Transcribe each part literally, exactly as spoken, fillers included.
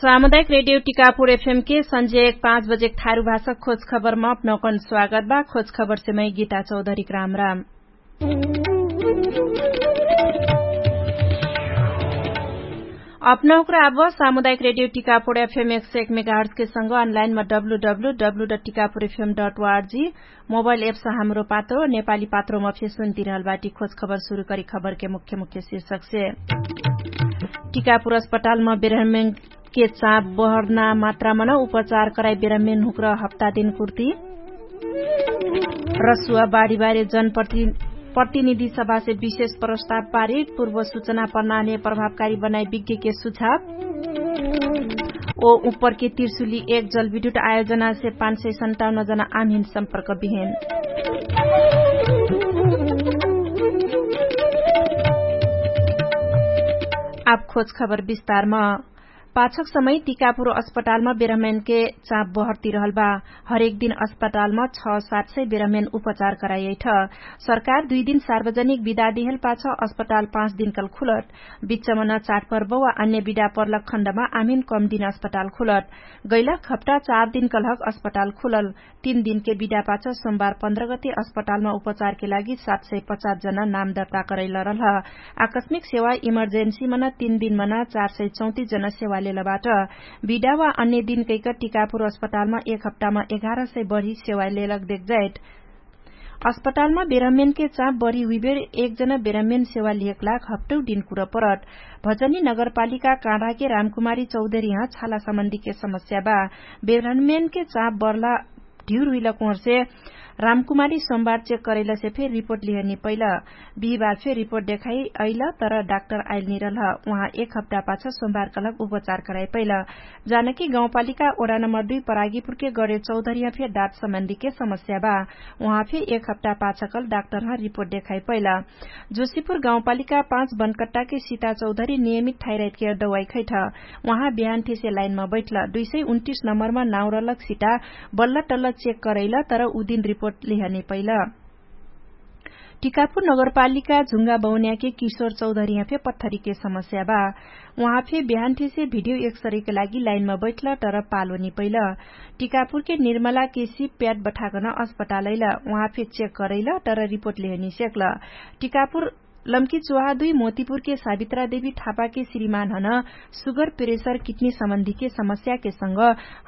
सामुदायिक रेडियो टिकापुर एफएम के सन्जे एक पाँच बजेक थारु भाषा खोज खबरमा अपनौकन स्वागत बा। खोज खबरसे मै गीता चौधरीक राम राम। अपनौकरा आब सामुदायिक रेडियो टिकापुर एफएम एक सय एक मेगाहर्सके संग अनलाइनमा W W W dot Tikapur FM dot O R G mobile apps Hamro Patro नेपाली पात्रोमा फेसुन तिरहल बाटी। खोज खबर सुरु करी खबरके मुख्य मुख्य शीर्षकसे। टिकापुर अस्पतालमा बेरहमेनके चाप बहर्ना मात्रामा न उपचार कराई बेरहमेन हुक्र हप्ता दिन कुर्ती। रसुवा बाढीबारे जनप्रति प्रतिनिधि सभासे विशेष प्रस्ताव पारित पूर्व सुचना प्रणाली प्रभावकारी बनाई विज्ञके सुझाव। ओ उपरके तिर्सुली एक जलविद्युत आयोजनासे पाँच सय सन्ताउन्न जना आमहिन सम्पर्क बिहेन। आब खोज खबर विस्तारमा। पाछक समय टिकापुर अस्पतालमा बेरहमेनके चाप बहर्तिरहल बा। हरेक दिन अस्पतालमा छ सात सय बेरहमेन उपचार कराइयैठ। सरकार दुइ दिन सार्वजनिक विदा दिहल पाछ अस्पताल पाँच दिनकल खुलट। बिच्चमन चाटपर्व वा अन्य विदा पर्लक खण्डमा आमिन कम दिन अस्पताल खुलट। गैलक हप्ता चार दिनकलहक अस्पताल खुलल। तीन दिनके विदा पाछ सोमबार पन्ध्र गते अस्पतालमा उपचारके लागि सात सय पचास जना नाम दर्ता करैलरल ह। आकस्मिक सेवा इमर्जेन्सीमन तीन दिनमन चार सय चौतिस जना सेवा लेलबाट। विदा वा अन्य दिनकैक टिकापुर अस्पतालमा एक हप्तामा एघार सय बढी सेवा लेलक देखजाइट। अस्पतालमा बेरहमेनके चाप बढी हुइबेर एक जना बेरहमेन सेवा लिहेक लाग हप्तौ दिन कुर परट। भजनी नगरपालिका काँडाके रामकुमारी चौधरी यहाँ छाला सम्बन्धीके समस्या बा। बेरहमेनके चाप बढला ढिउर हुइलक उहरसे रामकुमारी सोमबार चेक करैलसे फेर रिपोर्ट लिहनी पैल। बिहिबार फेर रिपोर्ट देखाइ अइल तर डाक्टर आइल निरल ह। उहाँ एक हप्ता पाछ सोमबार कलक उपचार कराइ पैल। जानकी गाउँपालिका ओडा नम्बर दुई परागीपुरके गरे चौधरिया फेर दाँत सम्बन्धीके समस्या बा। उहाँ फेर एक हप्ता पाछ कल डाक्टर ह रिपोर्ट देखाइ पैल। जोशीपुर गाउँपालिका पाँच बनकट्टाके सिता चौधरी नियमित थाइराइटके दवाई खैठ। उहाँ बिहान ठेसे लाइनमा बैठल दुई सय उन्तिस नम्बरमा नाउरलक सिता बल्ल टल्ल चेक करैल तर उदिन रिपोर्ट लिहने पैल। टिकापुर नगरपालिका झुङ्गा बौन्याके किशोर चौधरिया फे पत्थरीके समस्या बा। उहाँ फे बिहान ठेसे भिडियो एक्सरेके लागि लाइनमा बैठल तर पालो निपैल। टिकापुरके निर्मलाके सिप प्याट बठाकन अस्पतालैल उहाँ फे चेक करैल तर रिपोर्ट लिहनी सेक्ल। टिकापुर लम्की चोहा दुई मोतिपुरके सावित्रा देवी ठापाके श्रीमान हन सुगर प्रेसर किटनी सम्बन्धीके समस्याके संग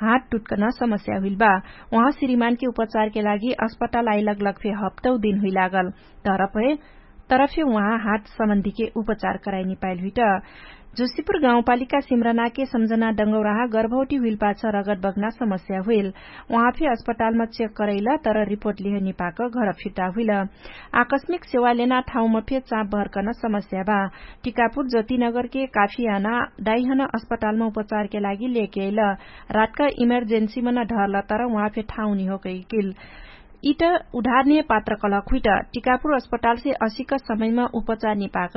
हात टुट्कन समस्या हुइल बा। उहाँ श्रीमानके उपचारके लागि अस्पताल आइलगलग फे हप्तौ दिन हुइलागल। तरफे तरफे उहाँ हात सम्बन्धीके उपचार कराइनी पाइल हुइट। जोशीपुर गाउँपालिका सिम्रनाके सम्झना डङ्गौराहा गर्भौटी हुइल पाछ रगत बग्ना समस्या हुइल। उहाँ फे अस्पतालमा चेक करैल तर रिपोर्ट लिहनी पाक घर फिर्ता हुइल। आकस्मिक सेवा लेना ठाउँमा फे चाप भर्कन समस्या बा। टिकापुर ज्योतिनगरके काफियाना दाइहन अस्पतालमा उपचारके लागि लेके अइल। रातका इमर्जेन्सीमन ढर्ल तर उहाँ फे ठाउँ निहोकै किल। इत उधारनिय पात्र कलक हुइट। टिकापुर अस्पतालसे असिक समयमा उपचार निपाक